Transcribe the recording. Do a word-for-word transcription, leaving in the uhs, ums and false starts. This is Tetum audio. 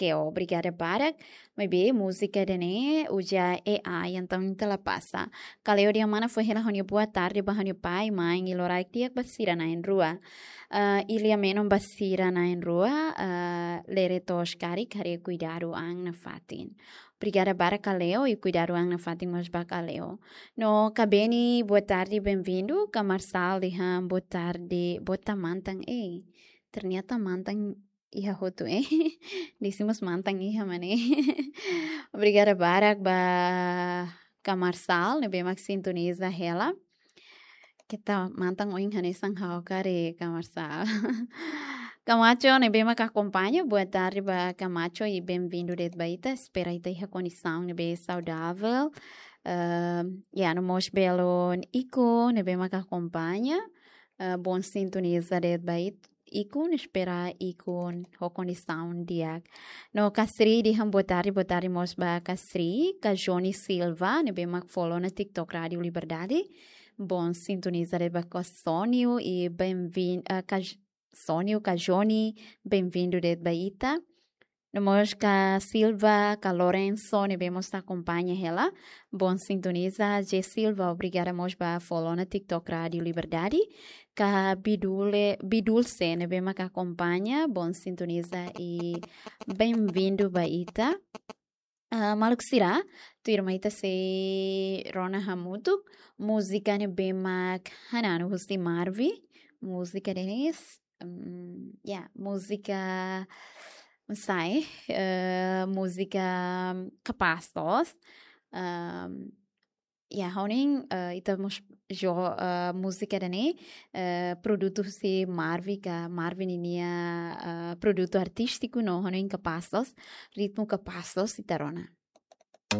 Keo, obrigada barak. Maibé múzika ida-ne'e uza A I, entaun ita la pasa. Kaleo dehan mana fó hela ha'u-nia boa tarde ba ha'u-nia pai, mãe, i loraik di'ak ba sira na'in-rua. Ah, Ilia menon ba sira na'in-rua, ah, lere toos karik, haree kuidadu an nafatin. Obrigada barak Kaleo, i kuidadu an nafatin mós ba Kaleo. No Kabeni, boa tarde, bem-vindo. Ka Marsal dehan boa tarde, boa tarde mantan, ei. Ternyata mantan iha hotu, eh. Desimus mantan iha mane. Obrigada barak ba Ka Marsal, ne'ebé mak sintoniza hela. Keta mantan oin hanesan ha'u karik, Ka Marsal. Kamacho, ne'ebé mak akompaña, boa tarde ba Kamacho i bem-vindo de'it ba ita. Espera ita iha kondisaun ne'ebé saudável. Ehm, ya, no mós belun Iko, ne'ebé mak akompaña. Eh, bon sintoniza de'it ba it-, Ikun, espera Ikun ho kondisaun di'ak. No Kasri dehan boa tarde, boa tarde mós ba Kasri, ka Johnny Silva, ne'ebé mak follow ona TikTok Rádio Liberdade. Bon sintoniza de'it ba Ka Sónio i bem-vin-, eh, ka J-, Sónio, ka Johnny, bem-vindo de'it ba ita. No mós ka Silva, ka Lorenzo, ne'ebé mós akompaña hela. Bon sintoniza, J Silva, obrigada mós ba follow ona TikTok Rádio Liberdade. Ka Bidule, Bidulce, ne'ebé mak akompaña, bon sintoniza i bem-vindo ba ita. Ah, maluk sira, tuirmai ita sei rona hamutuk múzika ne'ebé mak hananu husi Marvi, múzika Denise, mm, ya, múzika, não sei, eh, múzika Kapás Loos. Ehm, ya, ha'u hanoin, eh, ita mós jo-, eh, múzika ida-ne'e, eh, produtu husi Marvi ka Marvi ninia, eh, produtu artístiku, no ha'u hanoin Kapás Loos, ritmu Kapás Loos ita rona.